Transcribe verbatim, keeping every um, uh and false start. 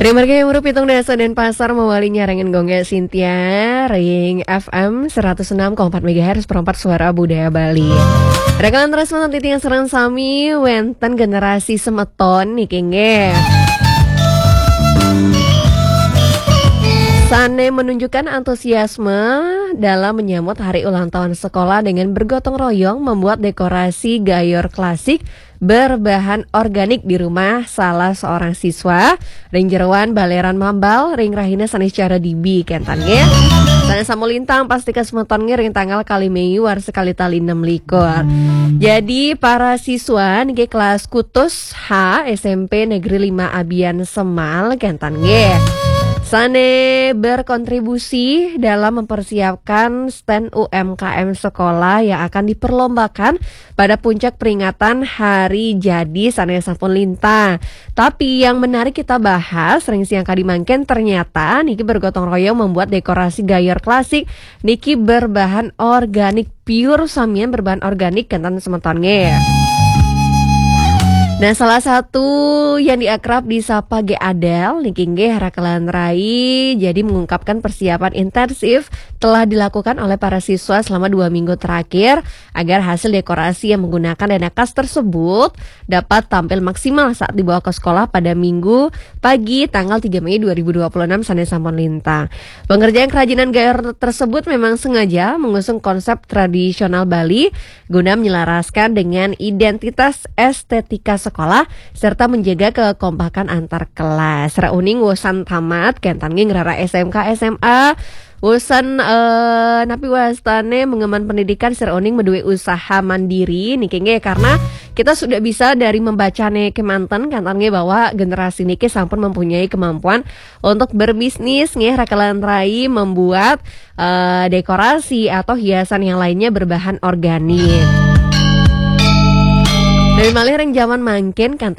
Ring margi umur pitung dasa Denpasar mawali nyarengin Gongga Sintia ring F M seratus enam koma empat megahertz, perempat suara budaya Bali. Rakalan terus nonton titi yang serang sami wenten generasi semeton niki nggih. Sane menunjukkan antusiasme dalam menyambut hari ulang tahun sekolah dengan bergotong royong membuat dekorasi gayor klasik berbahan organik di rumah salah seorang siswa ring jeroan Baleran Mambal ring rahina sane secara dibi kentan nggih. Sane sampun lintang pasti kasemeton nggih ring tanggal kali Mei warsa kali tali enam likur. Jadi para siswa niki kelas kutus H S M P Negeri lima Abian Semal kentan nggih. Sane berkontribusi dalam mempersiapkan stand U M K M sekolah yang akan diperlombakan pada puncak peringatan hari jadi sane sampun lintang. Tapi yang menarik kita bahas ring siang kadi mangkin, ternyata niki bergotong royong membuat dekorasi gayor klasik niki berbahan organik, pure samian berbahan organik kentan semeton nggih. Nah, salah satu yang diakrab disapa G Adel niki nggih rakalan rai jadi mengungkapkan persiapan intensif telah dilakukan oleh para siswa selama dua minggu terakhir agar hasil dekorasi yang menggunakan dana kas tersebut dapat tampil maksimal saat dibawa ke sekolah pada Minggu pagi tanggal tiga Mei dua ribu dua puluh enam sane sampun lintang. Pengerjaan kerajinan gayor tersebut memang sengaja mengusung konsep tradisional Bali guna menyelaraskan dengan identitas estetika sekolah serta menjaga kekompakan antar kelas. Rauning wusan tamat kentan nggih ngrara S M K S M A. Wusan eh, napi wastane mengemban pendidikan sira uning meduwe usaha mandiri niki nggih, karena kita sudah bisa dari membacane kemanten kentan nggih bahwa generasi niki sampun mempunyai kemampuan untuk berbisnis nggih rakalan rai membuat eh, dekorasi atau hiasan yang lainnya berbahan organik. Dari malih ring zaman mangkin kentan